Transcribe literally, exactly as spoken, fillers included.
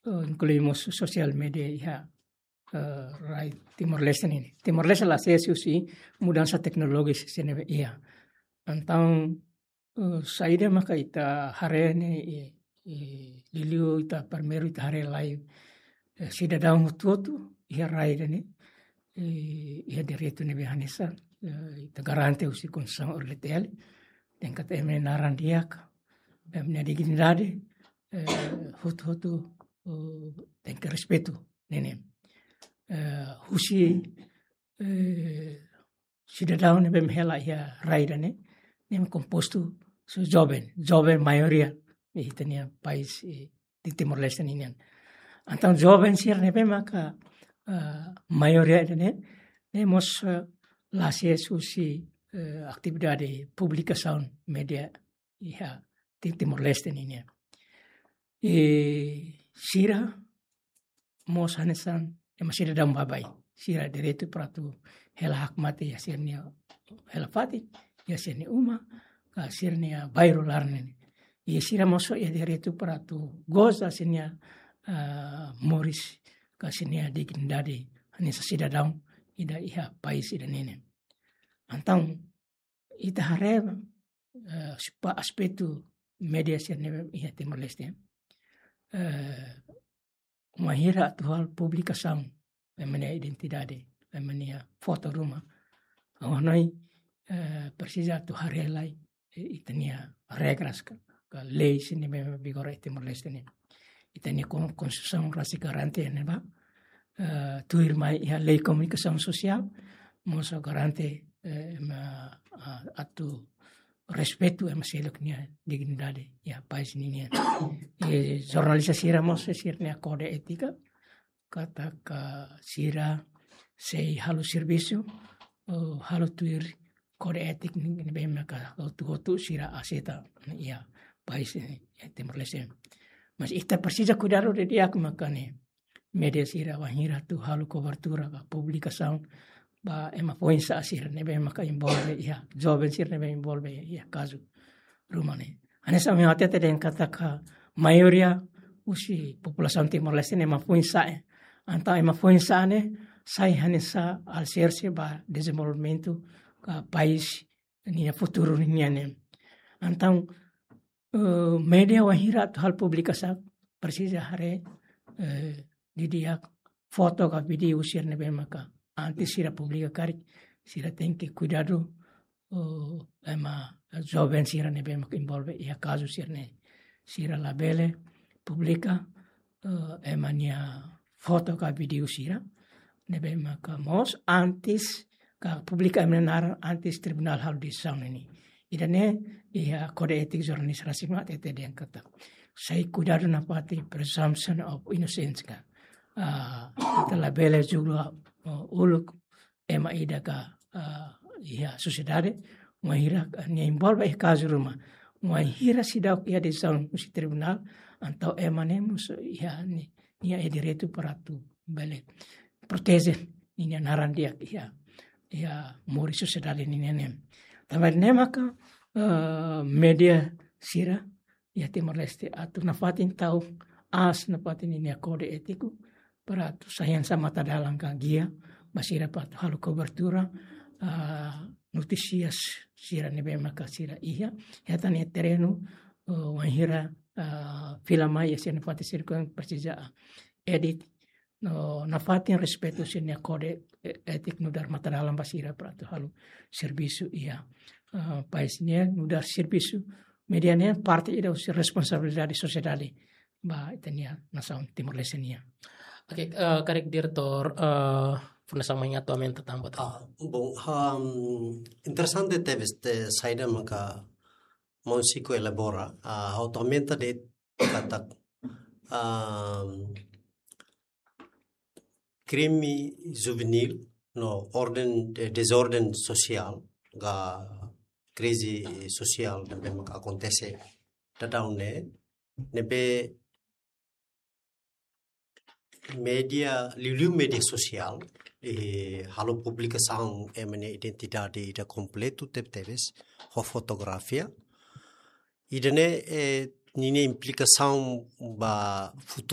eh, inklui mós sosiál media iha, eh, rai Timor-Leste nian. Timor-Leste la asesu husi mudansa teknolojia sira ne'ebé iha. Entaun, eh, saida maka ita haree ne'e, eh, eh, liuliu ita primeiru ita haree lai, eh, sidadaun hotu-hotu iha rai ida-ne'e, eh, iha direitu ne'ebé hanesan, eh, ita garante husi Konstituisaun R D T L, tenke ter ema nia naran di'ak, ema nia dignidade, eh, hotu-hotu, eh, tenke respeitu ne'e. Eh, husi, eh, sidadaun ne'ebé hela iha rai ida-ne'e, ne'e kompostu husi joven, joven maioria, iha ita-nia país, eh, di Timor-Leste nian. Entaun joven sira ne'ebé maka, eh, maioria ida-ne'e, ne'e mós, eh, la asesu husi, eh, atividade publikasaun media iha Ti-, Timor-Leste nian. I sira mós hanesan ema sidadaun baibain. Sira direitu para atu hela hakmatek iha sira-nia hela fatin, iha sira-nia uma, ka sira-nia bairru laran ne'e. I sira mós iha direitu para atu goza sira-nia, ah, moris, ka sira-nia dignidade hanesan sidadaun ida iha país ida-ne'e. Entaun, ita haree, eh, husi aspetu media sira ne'ebé iha Timor-Leste. Eh, wainhira atu halo publikasaun ema nia identidade, ema nia foto ruma. Ha'u hanoin, eh, presiza atu haree lai, eh, ita-nia regras ka, ka lei sira ne'ebé vigora iha Timor-Leste nian. Ita-nia kon-, Konstituisaun rasik garante ne'ebá, eh, tuirmai iha Lei Komunikasaun Sosiál, mós garante, eh, ema, ah, atu respeitu ema seluk nia dignidade iha país ninian. I jornalista sira mós sira-nia kódigu étika, katak sira sei halo servisu, eh, halo tuir kódigu étika ne'ebé maka hotu-hotu sira aseita iha país ne'e, iha Timor-Leste. Mas ita presiza kuidadu didi'ak maka ne'e media sira wainhira atu halo kobertura ka publikasaun ba ema foin-sa'e sira ne'ebé maka envolve iha, joven sira ne'ebé envolve iha kazu ruma ne'e. Hanesan ami hatete dehan katak maioria husi populasaun Timor-Leste ne'e ema foin-sa'e. Entaun ema foin-sa'e ne'e sai hanesan aliserse ba dezenvolvimentu ka país nia futuru nian ne'e. Entaun, eh, media wainhira atu halo publikasaun presiza haree, eh, didi'ak foto ka vídeo sira ne'ebé maka antes sira publika karik, sira tenke kuidadu, eh, ema joven sira ne'ebé maka envolve iha kazu sira ne'e. Sira labele publika, eh, ema nia foto ka vídeo sira ne'ebé maka mós antes ka publika ema nia naran antes tribunál halo desizaun ne'e. Ida-ne'e iha kódigu étika jornalista rasik mak hatete dehan katak sei kuidadu nafatin presumption of innocence ka. Ah, ita labele julga, ah, uluk ema ida ka, ah, iha sosiedade, wainhira, ah, nia envolve iha kazu ruma. Wainhira seidauk iha desizaun husi tribunál, entaun ema ne'e mós iha ni-, nia iha direitu para atu bele proteje ninia naran di'ak iha, iha moris sosiedade ninian. Tanba ne'e maka, eh, media sira iha Timor-Leste atu nafatin tau aas nafatin ninia kódigu étiku para atu sai hanesan matadalan ka gia ba sira para atu halo kobertura, ah, notísias sira ne'ebé maka sira iha, iha tan iha terrenu, eh, wainhira, ah, fila mai iha sira-nia fatin sira-ne'e presiza edit, no nafatin respeitu sira-nia kódigu, eh, étiku nu'udar matadalan ba sira para atu halo servisu iha, ah, país nian nu'udar servisu media nian parte ida husi responsabilidade sosiedade ba ita-nia nasaun Timor-Leste nian. Oke, eh, karik diretór, eh, fó hanesan mai atu aumenta tanba tan. Ah, bom, ah, interesante tebes, eh, saida maka maun Chico elabora, ah, atu aumenta de'it katak, ah, krime juvenil no orden, eh, dezorden sosiál ka krize sosiál ne'ebé maka akontese daudaun ne'e, ne'ebé media, liuliu media sosiál, eh, halo publikasaun ema nia identidade ida kompletu tebetebes, ho fotografia. Ida-ne'e, eh, ninia implikasaun ba futuru